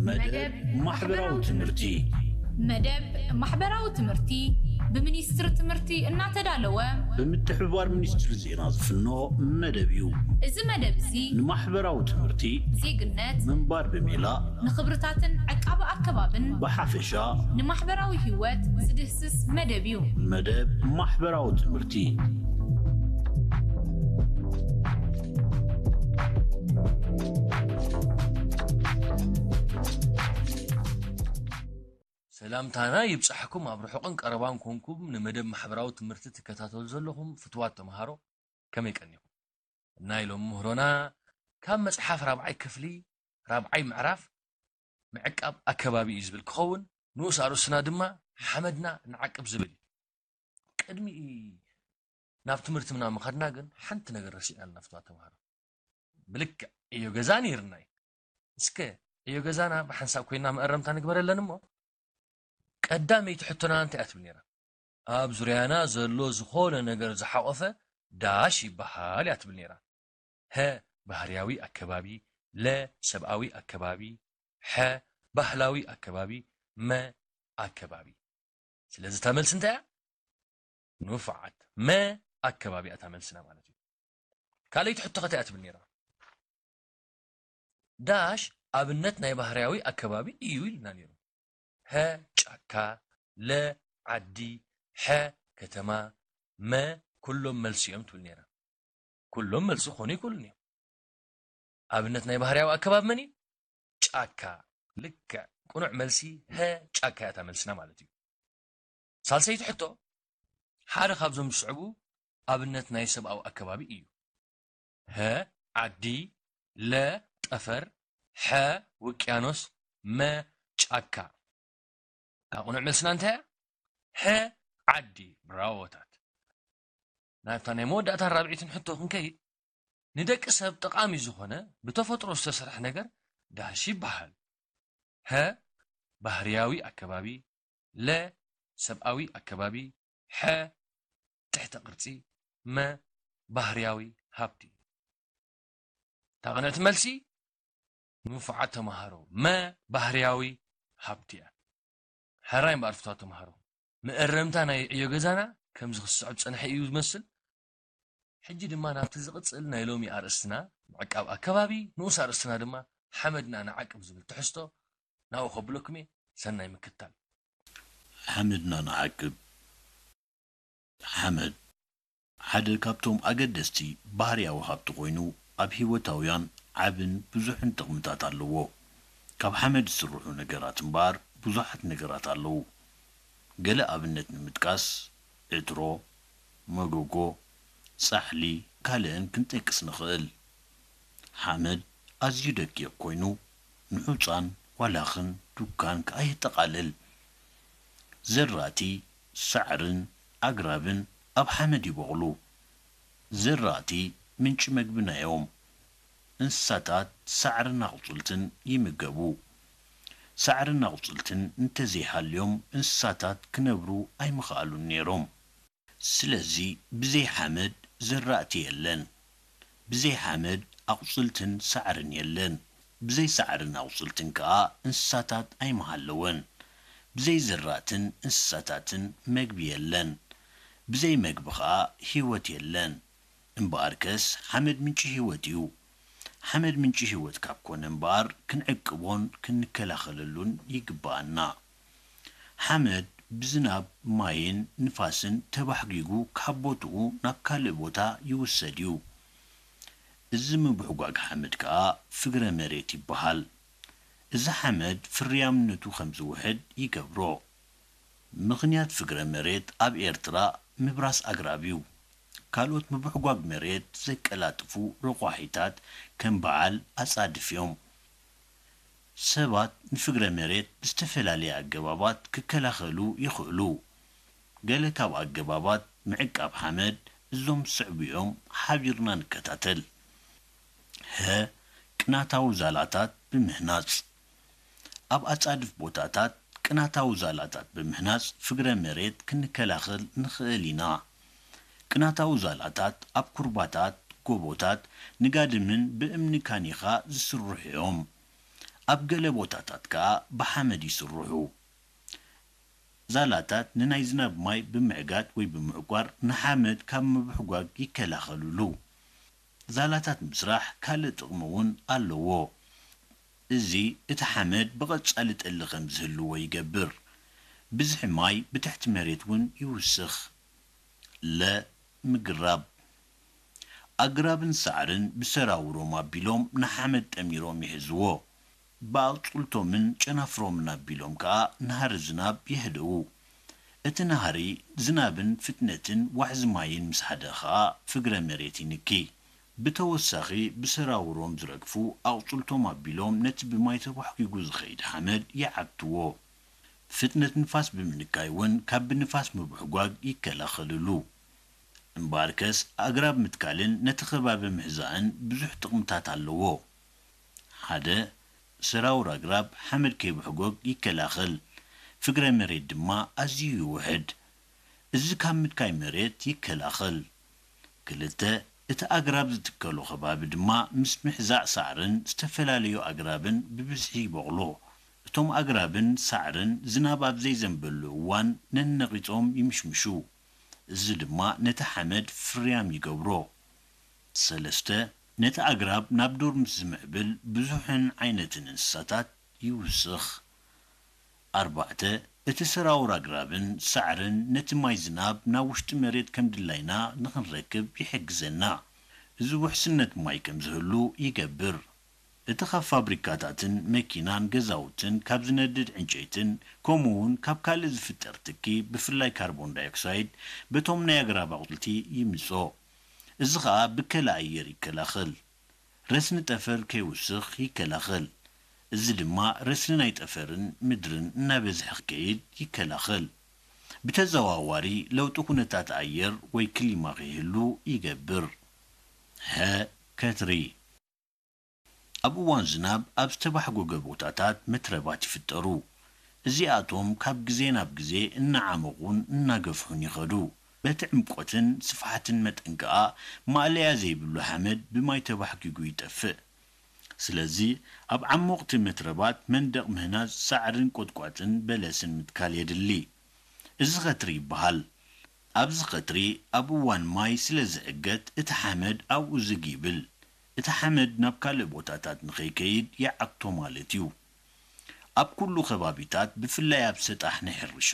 መደብ ማሕበራዊ ትምህርቲ። መደብ ማሕበራዊ ትምህርቲ ብሚኒስትሪ ትምህርቲ እናተዳለወ ብምትሕብባር ሚኒስትሪ ዜና ዝፍኖ መደብ እዩ። እዚ መደብ እዚ ንማሕበራዊ ትምህርቲ ዜግነት ምንባር ብሜላ ንኽብርታትን ዕቃበ ኣከባብን ብሓፈሻ ንማሕበራዊ ህይወት ዝድህስስ መደብ እዩ። መደብ ማሕበራዊ ትምህርቲ። ሰላምታና ይብጻሕኩም ኣብ ርሑቕን ቀረባን ኮንኩም ንመደብ ማሕበራዊ ትምህርቲ ትከታተሉ ዘለኹም ፍትዋት ተምሃሮ ከመይ ቀኒኹም? ናይ ሎም ምህሮና ካብ መጽሓፍ ራብዓይ ክፍሊ ራብዓይ ምዕራፍ ምዕቃብ ኣከባቢ እዩ ዝብል ክኸውን ንኡስ ኣርእስትና ድማ ሓመድና ንዓቅብ ዝብል እዩ። ቅድሚ ናብ ትምህርትና ምኻድና ግን ሓንቲ ነገር ረሲዕና ኣለና ፍትዋት ተምሃሮ። ብልክዕ ዕዮ ገዛ ነይርና እዩ። እስከ ዕዮ ገዛና ብሓንሳብ ኮይና መእረምታ ንግበረለን እሞ ቀዳመይቲ ሕቶና እንታይ እያ ትብል ነይራ? ኣብ ዙርያና ዘሎ ዝኾነ ነገር ዝሓቆፈ ዳሽ ይበሃል እያ ትብል ነይራ። ሀ ባህርያዊ ኣከባቢ፣ ለ ሰብኣዊ ኣከባቢ፣ ሐ ባህላዊ ኣከባቢ፣ መ ኣከባቢ። ስለዚ እታ መልሲ እንታይ እያ? ንፉዓት መ ኣከባቢ እያ እታ መልስና ማለት እዩ። ካልኣይቲ ሕቶ ከ እንታይ እያ ትብል ነይራ? ዳሽ ኣብነት ናይ ባህርያዊ ኣከባቢ እዩ ኢልና ነይሩ። ሀ ጫካ፣ ለ ዓዲ፣ ሐ ከተማ፣ መ ኩሎም መልሲ እዮም ትብል ነይራ። ኩሎም መልሲ ክኾኑ ይክእሉን እዮም። ኣብነት ናይ ባህርያዊ ኣከባቢ መን እዩ? ጫካ። ልክዕ ቅኑዕ መልሲ ሀ ጫካ እያ እታ መልስና ማለት እዩ። ሳልሰይቲ ሕቶ ሓደ ካብዞም ዝስዕቡ ኣብነት ናይ ሰብኣዊ ኣከባቢ እዩ። ሀ ዓዲ፣ ለ ጠፈር፣ ሐ ውቅያኖስ፣ መ ጫካ። እታ ቅኑዕ መልስና እንታይ እያ? ሐ ዓዲ። ብራዎታት። ናብታ ናይ መወዳእታ ራብዒትን ሕቶ ክንከይድ ንደቂ ሰብ ጠቓሚ ዝኾነ ብተፈጥሮ ዝተሰርሐ ነገር ዳሽ ይበሃል። ሀ ባህርያዊ ኣከባቢ፣ ለ ሰብኣዊ ኣከባቢ፣ ሐ ትሕተ ቅርጺ፣ መ ባህርያዊ ሃብቲ። እታ ቅንዕቲ መልሲ ንፉዓት ተምሃሮ መ ባህርያዊ ሃብቲ እያ። ሕራይ እምበኣር ፍትዋት ተምሃሮ መእረምታ ናይ ዕዮ ገዛና ከምዚ ክስዕብ ዝጸንሐ እዩ ዝመስል። ሕጂ ድማ ናብቲ ዝቕጽል ናይ ሎሚ ኣርእስትና ምዕቃብ ኣከባቢ ንኡስ ኣርእስትና ድማ ሓመድና ንዓቅብ ዝብል ትሕዝቶ ናብኡ ከብለኩም እየ። ሰናይ ምክትታል። ሓመድና ንዓቅብ። ሓመድ ሓደ ካብቶም ኣገደስቲ ባህርያዊ ሃብቲ ኮይኑ ኣብ ህይወታውያን ዓብን ብዙሕን ጥቕምታት ኣለዎ። ካብ ሓመድ ዝስርሑ ነገራት እምበኣር ብዙሓት ነገራት ኣለዉ። ገለ ኣብነት ንምጥቃስ ዕትሮ፣ መጎጎ፣ ጻሕሊ ካልእን ክንጠቅስ ንኽእል። ሓመድ ኣዝዩ ደቂቕ ኮይኑ ንሑጻን ዋላኽን ዱካን ከኣ የጠቓልል። ዘራእቲ፣ ሳዕርን ኣግራብን ኣብ ሓመድ ይበቑሉ። ዘራእቲ ምንጪ መግብና እዮም። እንስሳታት ሳዕርን ኣቑጽልትን ይምገቡ። ሳዕርን ኣቑጽልትን እንተዘይሃልዮም እንስሳታት ክነብሩ ኣይምኸኣሉን ነይሮም። ስለዚ ብዘይ ሓመድ ዘራእቲ የለን። ብዘይ ሓመድ ኣቑጽልትን ሳዕርን የለን። ብዘይ ሳዕርን ኣቑጽልትን ከኣ እንስሳታት ኣይምሃለወን። ብዘይ ዘራእትን እንስሳታትን መግቢ የለን። ብዘይ መግቢ ከኣ ህይወት የለን። እምበኣርከስ ሓመድ ምንጪ ህይወት እዩ። ሓመድ ምንጪ ህይወት ካብ ኮነ እምበኣር ክንዕቅቦን ክንከላኸለሉን ይግበኣና። ሓመድ ብዝናብ፣ ማይን ንፋስን ተባሕጒጉ ካብ ቦትኡ ናብ ካልእ ቦታ ይውሰድ እዩ። እዚ ምብሕጓግ ሓመድ ከኣ ፍግረ መሬት ይበሃል። እዚ ሓመድ ፍርያምነቱ ከም ዝውሕድ ይገብሮ። ምኽንያት ፍግረ መሬት ኣብ ኤርትራ ምብራስ ኣግራብ እዩ። ካልኦት ምብሕጓግ መሬት ዘቀላጥፉ ረቋሒታት ከም በዓል ኣጻድፍ እዮም። ሰባት ንፍግረ መሬት ብዝተፈላለየ ኣገባባት ክከላኸሉ ይኽእሉ። ገለ ካብ ኣገባባት ምዕቃብ ሓመድ እዞም ዝስዕቡ እዮም፣ ሓቢርና ንከታተል። ሀ ቅናታዊ ዛላታት ብምህናጽ። ኣብ ኣጻድፍ ቦታታት ቅናታዊ ዛላታት ብምህናጽ ፍግረ መሬት ክንከላኸል ንኽእል ኢና። ቅናታዊ ዛላታት ኣብ ኩርባታት፣ ጎቦታት፣ ንጋድምን ብእምኒ ካኒኻ ዝስርሑ እዮም። ኣብ ገለ ቦታታት ከኣ ብሓመድ ይስርሑ። ዛላታት ንናይ ዝናብ ማይ ብምዕጋት ወይ ብምዕቋር ንሓመድ ካብ ምብሕጓግ ይከላኸልሉ። ዛላታት ምስራሕ ካልእ ጥቕሚ እውን ኣለዎ። እዚ እቲ ሓመድ ብቐጻሊ ጠሊ ከም ዝህልዎ ይገብር። ብዝሒ ማይ ብትሕቲ መሬት እውን ይውስኽ። ለ ምግራብ። ኣግራብን ሳዕርን ብሰራውሮም ኣቢሎም ንሓመድ ጠሚሮም ይሕዝዎ። ብኣቕጽልቶምን ጨናፍሮምን ኣቢሎም ከኣ ናህሪ ዝናብ የህድኡ። እቲ ናህሪ ዝናብን ፍጥነትን ዋሕዚ ማይን ምስ ሃደ ኸኣ ፍግረ መሬት ይንኪ። ብተወሳኺ ብሰራውሮም ዝረግፉ ኣቕጽልቶም ኣቢሎም ነቲ ብማይ ተቧሕጒጉ ዝኸይድ ሓመድ ይዓግትዎ። ፍጥነት ንፋስ ብምንካይ እውን ካብ ብንፋስ ምብሕጓግ ይከላኸልሉ። እምበኣርከስ ኣግራብ ምትካልን ነቲ ከባቢ ምሕዛእን ብዙሕ ጥቕምታት ኣለዎ። ሓደ፣ ሰራውር ኣግራብ ሓመድ ከይብሕጎግ ይከላኸል፣ ፍግረ መሬት ድማ ኣዝዩ ይውሕድ። እዚ ካብ ምትካይ መሬት ይከላኸል። ክልተ፣ እቲ ኣግራብ ዝትከሎ ከባቢ ድማ ምስ ምሕዛእ ሳዕርን ዝተፈላለዩ ኣግራብን ብብዝሒ ይበቑሎ። እቶም ኣግራብን ሳዕርን ዝናብ ኣብ ዘይዘንበሉ እዋን ነነቒጾም ይምሽምሹ። እዚ ድማ ነቲ ሓመድ ፍርያም ይገብሮ። ሰለስተ፣ ነቲ ኣግራብ ናብ ዱር ምስ ዝምዕብል ብዙሕን ዓይነትን እንስሳታት ይውስኽ። ኣርባዕተ፣ እቲ ሰራውር ኣግራብን ሳዕርን ነቲ ማይ ዝናብ ናብ ውሽጢ መሬት ከም ድላይና ንኽንረክብ ይሕግዘና። እዚ ውሕስነት ማይ ከም ዝህሉ ይገብር። እቲ ካብ ፋብሪካታትን መኪናን ገዛውትን ካብ ዝነድድ ዕንጨይትን ከምኡ እውን ካብ ካልእ ዝፍጠር ትኪ ብፍላይ ካርቦን ዳይኦክሳይድ በቶም ናይ ኣግራብ ኣቑጽልቲ ይምጾ። እዚ ኸኣ ብከላ ኣየር ይከላኸል። ረስኒ ጠፈር ከይውስኽ ይከላኸል። እዚ ድማ ረስኒ ናይ ጠፈርን ምድርን እናበዝሐ ክከይድ ይከላኸል። ብተዘዋዋሪ ለውጢ ኩነታት ኣየር ወይ ክሊማ ከይህሉ ይገብር። ሀ ከትሪ። ኣብ እዋን ዝናብ ኣብ ዝተባሕጎገ ቦታታት መትረባት ይፍጠሩ። እዚኣቶም ካብ ግዜ ናብ ግዜ እናዓመቑን እናገፍሑን ይኸዱ። በቲ ዕምቆትን ስፍሓትን መጠን ከኣ ማእለያ ዘይብሉ ሓመድ ብማይ ተባሕጊጉ ይጠፍእ። ስለዚ ኣብ ዓሞቕቲ መትረባት መንደቕ ምህናጽ ሳዕርን ቆጥቋጥን በለስን ምትካል የድሊ። እዚ ኸትሪ ይበሃል። ኣብዚ ኸትሪ ኣብ እዋን ማይ ስለ ዝዕገት እቲ ሓመድ ኣብኡ ዝግ ይብል። እቲ ሓመድ ናብ ካልእ ቦታታት ንኸይከይድ ይዓግቶ ማለት እዩ። ኣብ ኩሉ ከባቢታት ብፍላይ ኣብ ሰጣሕ ናይ ሕርሻ